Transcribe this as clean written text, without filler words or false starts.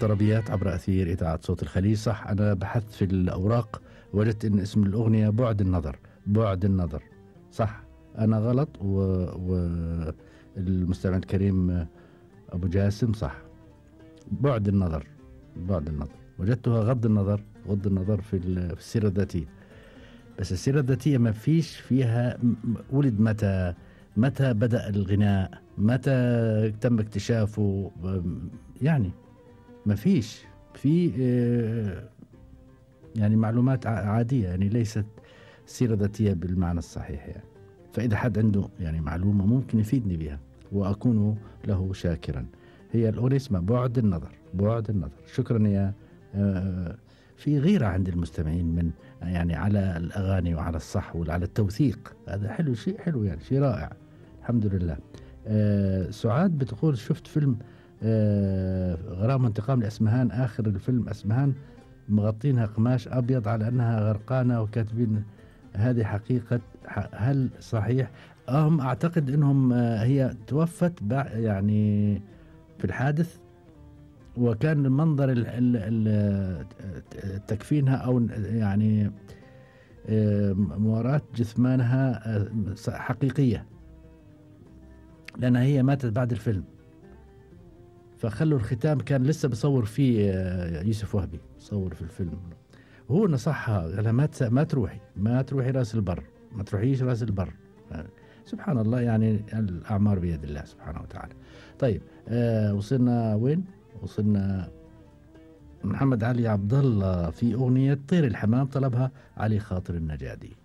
طربيات عبر أثير إذاعة صوت الخليج. صح، أنا بحثت في الأوراق وجدت إن اسم الأغنية بعد النظر. بعد النظر، صح، أنا غلط. والمستمع الكريم أبو جاسم صح، بعد النظر. بعد النظر وجدتها غض النظر. غض النظر في السيرة الذاتية. بس السيرة الذاتية ما فيش فيها ولد متى بدأ الغناء، متى تم اكتشافه، يعني ما فيش في يعني معلومات عادية، يعني ليست سيرة ذاتية بالمعنى الصحيح يعني. فإذا حد عنده يعني معلومة ممكن يفيدني بها وأكون له شاكرا. هي الأغنية اسمها بعد النظر. بعد النظر. شكرا يا في غيرة عند المستمعين من يعني على الأغاني وعلى الصح وعلى التوثيق. هذا حلو، شيء حلو يعني، شيء رائع، الحمد لله. سعاد بتقول شفت فيلم غرام وانتقام لأسمهان. آخر الفيلم أسمهان مغطينها قماش أبيض على أنها غرقانة وكاتبين هذه حقيقة. هل صحيح؟ هم أعتقد أنهم هي توفت يعني في الحادث، وكان منظر تكفينها أو يعني مواراة جثمانها حقيقية، لأنها هي ماتت بعد الفيلم. فخلوا الختام كان لسه بصور فيه يوسف وهبي، صور في الفيلم. هو نصحها، قالها ما تروحي راس البر، ما تروحيش راس البر. سبحان الله، يعني الأعمار بيد الله سبحانه وتعالى. طيب وصلنا وين؟ وصلنا محمد علي عبد الله في أغنية طير الحمام، طلبها علي خاطر النجادي.